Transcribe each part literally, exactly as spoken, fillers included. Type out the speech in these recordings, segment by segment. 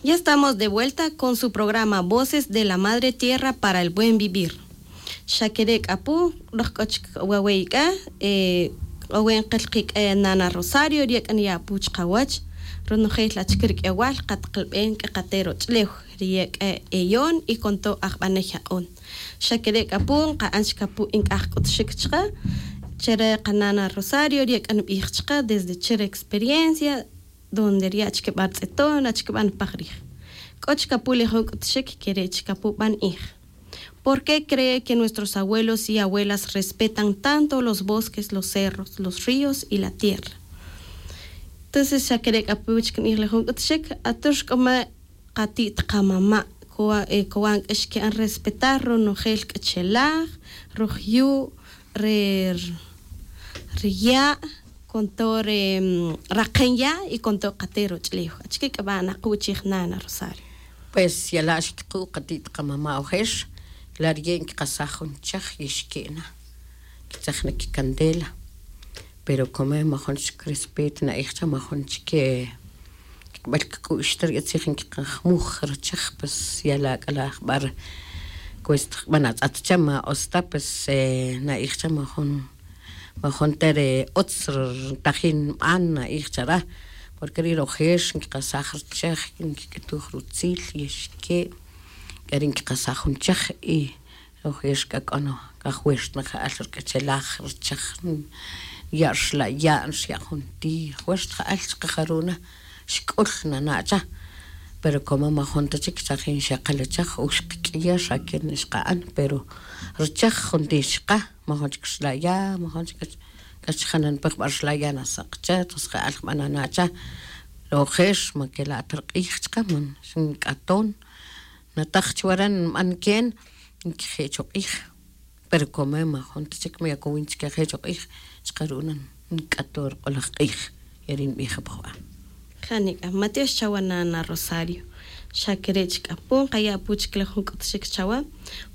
Ya estamos de vuelta con su programa Voces de la Madre Tierra para el Buen Vivir. Xa kere' k'a pu, roj k'o chik wawe' k'a, eh, k'o we' nqil qi' k'a nana Rosario, ri ye' k'a niya' pu chqawach, ronojel achike ri k'ewal, qataqlab'en k'a qate' roch'ulew, ri ye' k'a eyon y con todo ajb'anej yaq'on. Xa kere' k'a pu, nqa'an chik apu' nk'aj k'utxik chqe, che re qanana Rosario, ri ye' k'a nb'ij chqe desde che re experiencia, donde ri achike b'a' rtz'eton, achike b'a' npaj rij. K'o chik apu' le jun k'utxik, kere' chik apu' b'a' nb'ij. ¿Por qué cree que nuestros abuelos y abuelas respetan tanto los bosques, los cerros, los ríos y la tierra? Entonces xa kere' k'a pu chik nb'ij le jun k'utxik, atux k'o ma qati't qamama', kowa-, eh, kowan k'a xke'an respetar ronojel k'a chelaj, roj yu', re, re ya', con todo re, mm, raqen ya' y con todo qate' roch'ulew. Achike k'a b'a' naquw chij nana Rosario? Pues yala' xkiquw qati't qamama' ojer, la' riye' nkiqasaj jun chej y xke' na, nkitzaj na kicandela. Pero como majun chik respeto na'ij cha, majun chik, eh, kikb'al kik'u'x ta ri tzij nkiqajmuj ri chej, pues yala' k'a la' jb'a' ri cuesta jb'an atz'at cha, ma utz ta, pues, eh, na'ij cha majun, majun ta ri utz ri tajin nb'an, na'ij cha re, porque ri rojer nkiqasaj ri chej, nkik'utuj rutzil y xke', k'ari' nkiqasaj jun chej y ojer k'a k'o no, k'a juerta nqa'al ri k'achelaj, ri chej, ya' rxla' ya', xya' jun ti', juerta ja'al chqe jaru' na, xk'ul nana' cha. Pero como majun ta chik chajin xeqel chej, o xqak'iyer xa kin xqa'an, pero ri chej jun ti' xqa, majun chik rxla' ya', majun chik k'ach-, k'ach janan pe jb'a' rxla' ya' nasaq cha, entonces ja'al jb'a' nana' cha. Ri ojer ma kela' ta ri q'ij chqe, man, nk'aton, nataj chuwa re nb'an ken, nkeje' chuq'ij. Pero como majun ta chik ma yakowin chik keje' chuq'ij, chqe ru'na nk'ato ri q'olaj q'ij, ya ri' nb'ij apu jb'a'. Jani k'a, ma tiox chawa nana Rosario. Xa kere' chik apu, nqaya' apu chik le jun k'utxik chawa.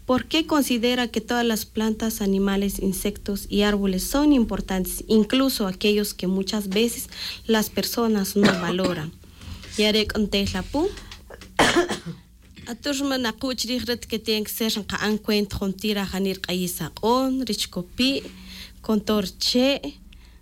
¿Por qué considera que todas las plantas, animales, insectos y árboles son importantes, incluso aquellos que muchas veces las personas no valoran? Ya re' k'o ntel apu. Atux ma naquw chirij ri ti que tiene que ser nqa'an cuenta jontir ajani ri q'ayis aq'on, ri chikopi', con todo ri che',